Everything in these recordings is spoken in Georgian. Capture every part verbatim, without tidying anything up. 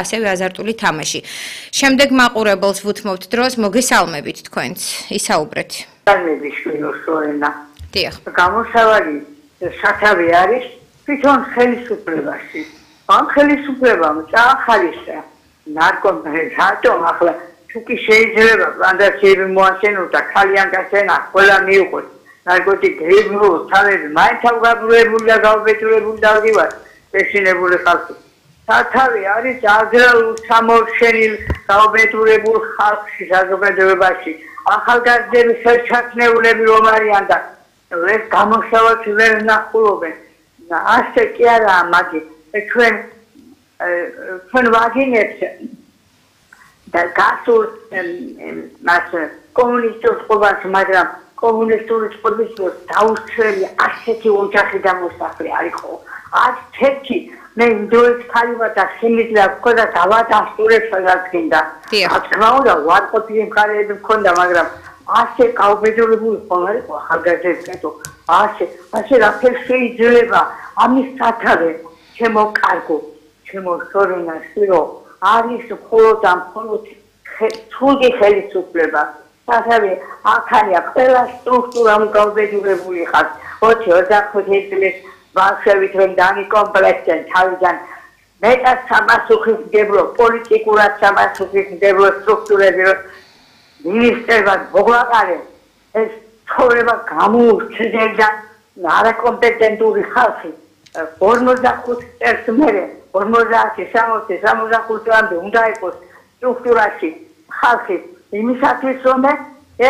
ასევე აზარტული თამაში. შემდეგ მაყურებელს ვუთმობთ დროს, მოგესალმებით თქვენც, ისაუბრეთ. Salmedi შვილოსოენა. დიახ. გამოსავალი სათავე არის თვითონ ხელისუფლებაში. ამ ხელისუფლებამ წაახალისა ნარკომანი რატომ ახლა თუკი შეიძლება პლანტაციები მოაშენოს და ქალიან გასენა ყველა მიიღოს ნარკოტიკები თავები მაინც ავგაბურებული და გავბედურებული დავდივარ ეშინებული ხალხი. სათავე არის აგრარულ სამორჩენილ გავბედურებულ ხალხში საზოგადოებაში. ახალგაზრდები ხელჩათნეულები რომ არიან და ეს გამოსავალს ვერ ნახულობენ. ასე კი არაა მაგი ჩვენ ჩვენ ვაგინებს და გასულ მას კომუნისტურ წყობას, მაგრამ კომუნისტური წყობის დაუსწრელი ასეთი ოჯახი დამოსახლე არისო. არც თეთრი მე ინდოეთის ქალივა და სიმძლე აქვს და დავადასტურებს სადაც გინდა. რა თქმა უნდა, ვარყოფილი მხარეები მქონდა, მაგრამ ასე გაუბედურებული ხომ არისო ახალგაზრდებო. ასე ასე რაფერ შეიძლება ამის სათავე ჩემო კარგო, ჩემო სორონა სირო არის მხოლოდ ამ მხოლოდ თულგი ხელისუფლება. სათავე აქania ყველა სტრუქტურამ გაუბედურებული ხარ. ოცი ოცდახუთი წლის ბავშვებით რომ დაიკომპლექტენ თავიდან მეტად სამასუხისმგებლო პოლიტიკურად სამასუხისმგებლო სტრუქტურები მინისტრებად მოგვაყარეს ეს ცხოვრება გამოუჩნდება არაკომპეტენტური ხალხი ორმოცდახუთი წელს მერე ორმოცდაათი სამოცი სამოცდახუთამდე უნდა იყოს სტრუქტურაში ხალხი იმისათვის რომ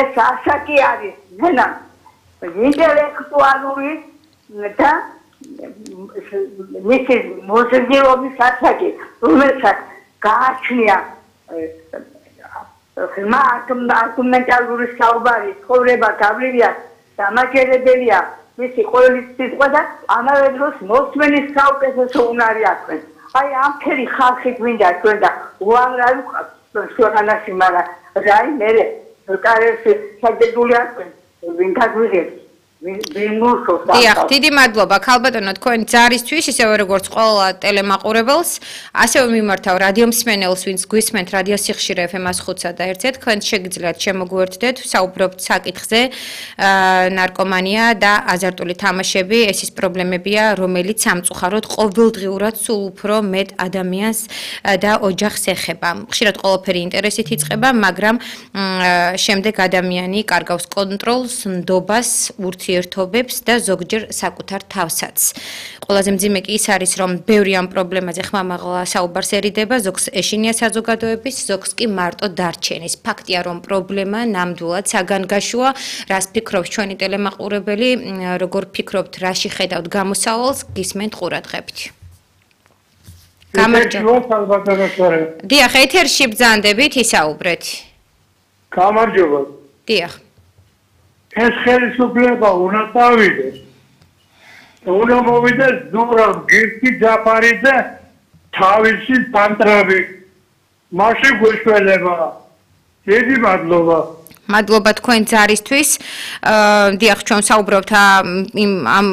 ეს ასაკი არის მენა ინტელექტუალური და მისი მოზრდილობის ასაკი რომელსაც გააჩნია ხმა არგუმენტალური საუბარი ცხოვრება გავლილია დამაჯერებელია მისი ყოველი სიტყვა და ამავე დროს მოსმენის საუკეთესო უნარი აქვს. აი ამ ფერი ხალხი გვინდა ჩვენ და უამრავი ქვეყანაში, მაგრამ რაი მე კარიერში შეგდებული აქვს ვინ გაგვიღებს დიახ, დიდი მადლობა ქალბატონო თქვენ ძარისთვის, ისევე როგორც ყველა ტელემაყურებელს, ასევე მიმართავ რადიო მსმენელს, ვინც გვისმენთ რადიო სიხშირე ეფ ემ one oh three one, თქვენ შეგიძლიათ შემოგვიერთდეთ, საუბრობთ საკითხზე, ნარკომანია და აზარტული თამაშები, ეს ის პრობლემებია, რომელიც სამწუხაროდ ყოველდღიურად სულ უფრო მეტ ადამიანს და ოჯახს ეხება. ხშირად ყველაფერი ინტერესით იწყება, მაგრამ შემდეგ ადამიანი კარგავს კონტროლს, ნდობას, ურთიერთობებს და ზოგჯერ საკუთარ თავსაც. ყველაზე მძიმე კი ის არის, რომ ბევრი ამ პრობლემაზე ხმამაღლა საუბარს ერიდება, ზოგს ეშინია საზოგადოების, ზოგს კი მარტო დარჩენის. ფაქტია, რომ პრობლემა ნამდვილად საგანგაშოა, რას ფიქრობს ჩვენი ტელემაყურებელი, როგორ ფიქრობთ, რაში ხედავთ გამოსავალს, გისმენთ ყურადღებით. გამარჯობა. დიახ, ეთერში ბრძანდებით, ისაუბრეთ. გამარჯობა. დიახ. ეს ხელისუფლება უნდა წავიდეს. უნდა მოვიდეს ზურაბ გირკი ჯაფარიძე თავისი პანტრები. მაშინ გვეშველება. დიდი მადლობა. მადლობა თქვენ ძარისთვის. დიახ, ჩვენ საუბრობთ ამ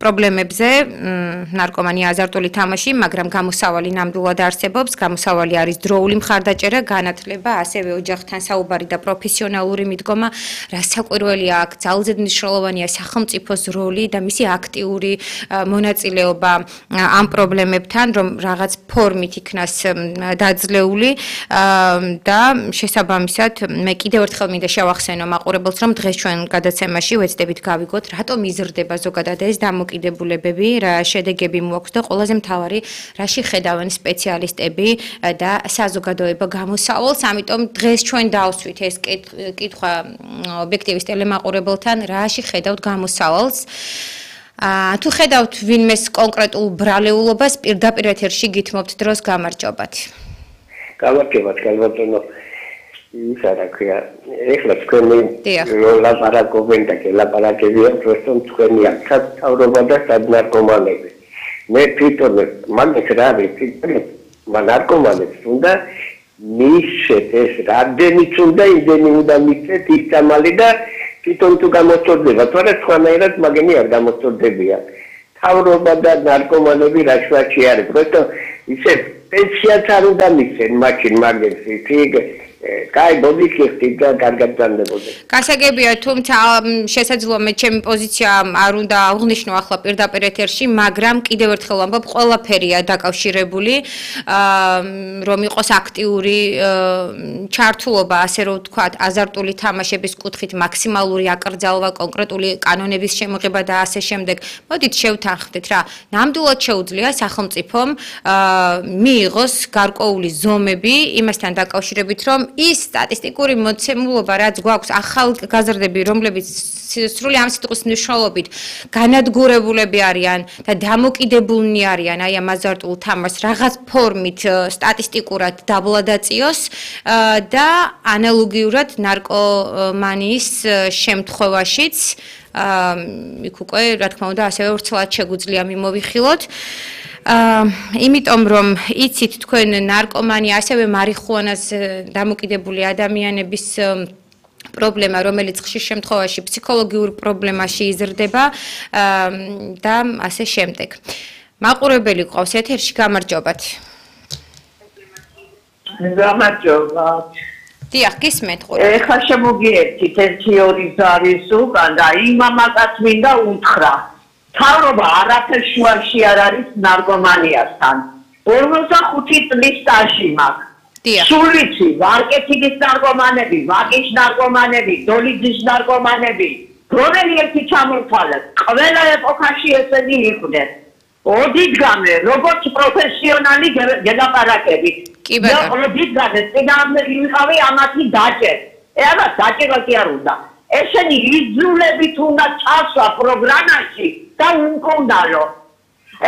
პრობლემებზე, ნარკომანია, აზარტული თამაში, მაგრამ გამოსავალი ნამდვილად არსებობს. გამოსავალი არის დროული მხარდაჭერა, განათლება, ასევე ოჯახთან საუბარი და პროფესიონალური მიდგომა, რაც საკვირველია აქ ძალზედ მნიშვნელოვანია სახელმწიფოს როლი და მისი აქტიური მონაწილეობა ამ პრობლემებთან, რომ რაღაც ფორმით იქნას დაძლეული და შესაბამისად მე კიდევ ერთხელ მინდა შევახსენო მაყურებელს, რომ დღეს ჩვენ გადაცემაში ვეცდებით გავიგოთ, რატომ იზრდება ზოგადად ეს დამოკიდებულებები, რა შედეგები მოაქვს და ყველაზე მთავარი, რაში ხედავენ სპეციალისტები და საზოგადოება გამოსავალს. ამიტომ დღეს ჩვენ დავსვით ეს კითხვა ობიექტივის ტელემაყურებელთან, რაში ხედავთ გამოსავალს. თუ ხედავთ ვინმეს კონკრეტულ ბრალეულობას, პირდაპირ ეთერში გითმობთ დროს გამარჯობათ. გამარჯობათ, ქალბატონო. ის არა ქვია, ეხლა თქვენი ლაპარაკობენ და ლაპარაკებია პროსტომ თქვენი სათავრობა და სადნარკომანები. მე თვითონ მაგას რა ვიცი, ნარკომანებს უნდა მისცეთ ეს რამდენიც უნდა იმდენი უნდა მისცეთ ის სამალი და თვითონ თუ გამოსწორდება, თორე სხვანაირად მაგენი არ გამოსწორდებიან. თავრობა და ნარკომანები რა შვაჩი არის, პროსტომ ისე პენსიაც არ უნდა მისცენ მაშინ მაგერს იქ კაი ბოდიშიხტით და კარგად განდებოდეს. გასაგებია, თუმცა შესაძლოა მე ჩემი პოზიცია არ უნდა აღნიშნო ახლა პირდაპირ ეთერში, მაგრამ კიდევ ერთხელ ვამბობ, ყველაფერია დაკავშირებული, რომ იყოს აქტიური ჩართულობა, ასე რომ ვთქვათ, აზარტული თამაშების კუთხით მაქსიმალური აკრძალვა, კონკრეტული კანონების შემოღება და ასე შემდეგ. მოდით შევთანხმდეთ რა, ნამდვილად შეუძლია სახელმწიფომ მიიღოს გარკვეული ზომები იმასთან დაკავშირებით, რომ ის სტატისტიკური მოცემულობა, რაც გვაქვს ახალგაზრდები, რომლებიც სრული ამ სიტყვის მნიშვნელობით განადგურებულები არიან და დამოკიდებულნი არიან აი ამ აზარტულ თამაშს რაღაც ფორმით სტატისტიკურად დაბლადაწიოს და ანალოგიურად ნარკომანიის შემთხვევაშიც იქ უკვე რა თქმა უნდა ასევე ვრცლად შეგვიძლია მიმოვიხილოთ. იმიტომ რომ იცით თქვენ ნარკომანია ასევე მარიხუანას დამოკიდებული ადამიანების პრობლემა, რომელიც ხშირ შემთხვევაში ფსიქოლოგიურ პრობლემაში იზრდება და ასე შემდეგ. მაყურებელი ყავს ეთერში, გამარჯობათ. გამარჯობათ. დიახ, გისმენთ ყურე. ეხლა შემოგიერთით ერთი ორი ზარის უკან და იმ ამასაც მინდა უთხრა. თავრობა არაფერ შუაში არ არის ნარკომანიასთან. ორმოცდახუთი წლის სტაჟი მაქვს. სულ ვიცი, ვარკეთილის ნარკომანები, ვაკის ნარკომანები, დოლიძის ნარკომანები, რომელი ერთი ჩამორთვალეთ, ყველა ეპოქაში ესენი იყვნენ. ოდითგანვე, როგორც პროფესიონალი გელაპარაკებით. კი ბატონო. ოდითგანვე, წინააღმდეგ ვიყავი ამათი დაჭერ. ეხლა დაჭერა კი არ უნდა. ესენი იძულებით უნდა წასვლა პროგრამაში და უკონდალო.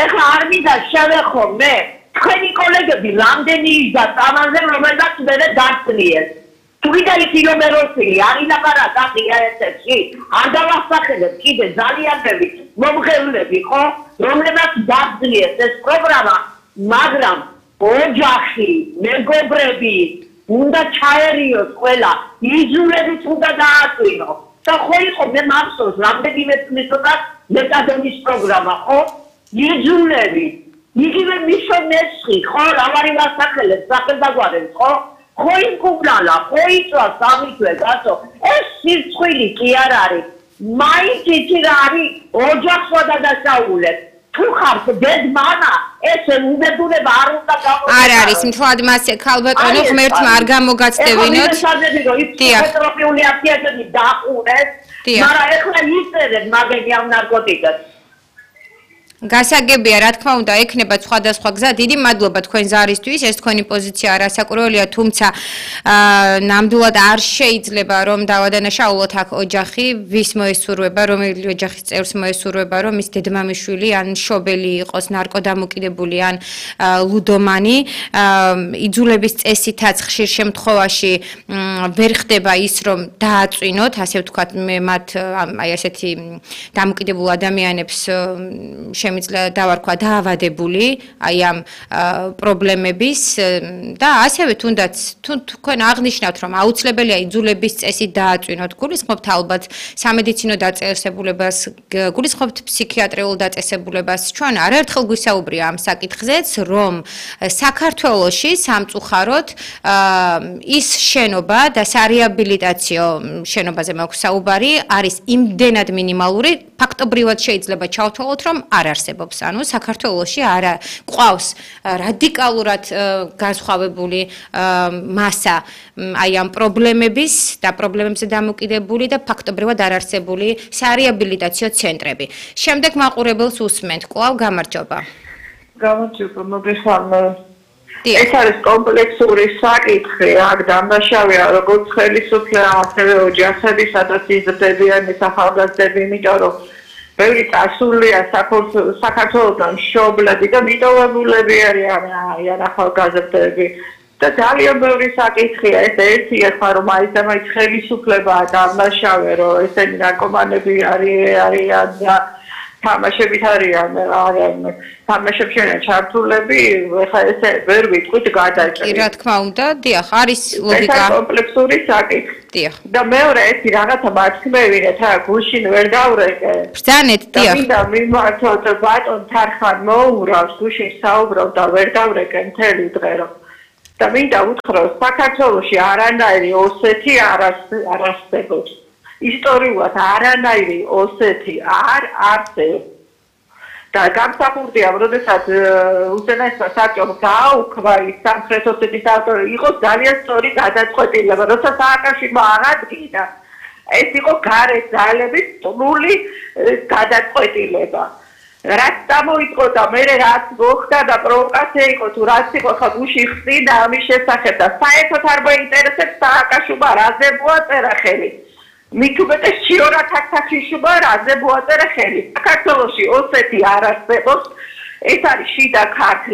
ეხლა არ მინდა შევეხო მე თქვენი კოლეგები რამდენი იზა წამალზე რომელსაც მე დაწლიეს. თვითონ კილომეტროსი არ ილაპარაკა ეთერში. არ დავახსახელებ კიდე ძალიან ბევრი მომღერლები ხო რომლებსაც დაწლიეს ეს პროგრამა, მაგრამ ოჯახი, მეგობრები უნდა ჩაერიოს ყველა, იძულებით უნდა დააწვინო. და ხო იყო მე მახსოვს რამდენიმე წლის წინ მეტადონის პროგრამა, ხო? იძულები. იგივე მიშონესხი, ხო, რავარი ვასახელებს, სახელდაგვარებს, ხო? ხო იმკუბლალა, ხო იწვა სამი თვე, გასო. ეს სირცხვილი კი არ არის. მაინც იცი რა არის ოჯახს გადადასაულებ. თუ ხარ დედ-მამა, ეს უბედურება არ უნდა გამოიყენოს. არ არის, მთლად მასე ქალბატონო, ღმერთმა არ გამოგაცდევინოთ. დიახ. ეტროპიული აქტიატები დაყურეს, მაგრამ ეხლა იწერენ მაგები ამ ნარკოტიკებს. გასაგებია, რა თქმა უნდა, ექნება სხვადასხვა გზა. დიდი მადლობა თქვენ ზარისთვის, ეს თქვენი პოზიცია არასაკურველია, თუმცა ნამდვილად არ შეიძლება რომ დავადანაშაულოთ აქ ოჯახი, ვის მოესურვება, რომელი ოჯახის წევრს მოესურვება, რომ ის დედმამიშვილი ან მშობელი იყოს ნარკოდამოკიდებული ან ლუდომანი. იძულების წესითაც ხშირ შემთხვევაში ვერ ხდება ის, რომ დააწვინოთ, ასე ვთქვათ, მე მათ აი ასეთი დამოკიდებულ ადამიანებს შემიძლია დავარქვა დაავადებული აი ამ პრობლემების და ასევე თუნდაც თუ თქვენ აღნიშნავთ რომ აუცილებელია იძულების წესით დააწვინოთ, გულისხმობთ ალბათ სამედიცინო დაწესებულებას, გულისხმობთ ფსიქიატრიულ დაწესებულებას. ჩვენ არაერთხელ გვისაუბრია ამ საკითხზეც, რომ საქართველოში სამწუხაროდ ის შენობა და სარეაბილიტაციო შენობაზე მაქვს საუბარი არის იმდენად მინიმალური, ფაქტობრივად შეიძლება ჩავთვალოთ, რომ არ არსებობს. ანუ საქართველოში არა ყავს რადიკალურად განსხვავებული მასა აი ამ პრობლემების და პრობლემებზე დამოკიდებული და ფაქტობრივად არ არსებული სარეაბილიტაციო ცენტრები. შემდეგ მაყურებელს უსმენთ. კვლავ გამარჯობა. გამარჯობა, მოგესალმ. ეს არის კომპლექსური საკითხი, აქ დამნაშავეა როგორც ხელისუფლება, ასევე ოჯახები, სადაც იზრდებიან ეს ახალგაზრდები, იმიტომ რომ ბევრი წასულია საქართველოსთან მშობლები და მიტოვებულები არიან ახალგაზრდები და ძალიან ბევრი საკითხია. ეს ერთი ახლა რომ აი ეს ხელისუფლება დამნაშავე, რომ ესენი ნარკომანები არიან და თამაშებით არიან არიან თამაშებში არიან ჩართულები, ეხლა ესე ვერ ვიტყვით გადაჭრით. კი, რა თქმა უნდა, დიახ, არის ლოგიკა. ეს კომპლექსური საკითხი. დიახ. და მეორე ერთი რაღაცა მათქმევინეთ, რა გუშინ ვერ დავრეკე. ბრძანეთ, დიახ. და მიმართოთ ბატონ თარხან მოურავს, გუშინ საუბრობ და ვერ დავრეკე მთელი დღე რომ. და მინდა უთხრა, საქართველოში არანაირი ოსეთი არ არსებობს. ისტორიულად არანაირი ოსეთი არ არსებობს. და გამსახურდია, როდესაც უზენაესმა საბჭომ გააუქმა ის სამხრეთ ოსეთის ავტორი, იყო ძალიან სწორი გადაწყვეტილება, როცა სააკაშვილმა აღადგინა. ეს იყო გარეთ ძალების ტნული გადაწყვეტილება. რაც გამოიწყო და მე რაც მოხდა და პროვოკაცია იყო თუ რაც იყო ხა გუში ხსნა ამის შესახებ და საერთოდ არ მოინტერესებს სააკაშვილმა რაზე მოაწერა ხელი. მით უმეტეს ჩიორა თაქთაქიშვილმა რაზე მოაწერა ხელი. საქართველოში ოსეთი არ არსებობს. ეს არის შიდა ქართლი.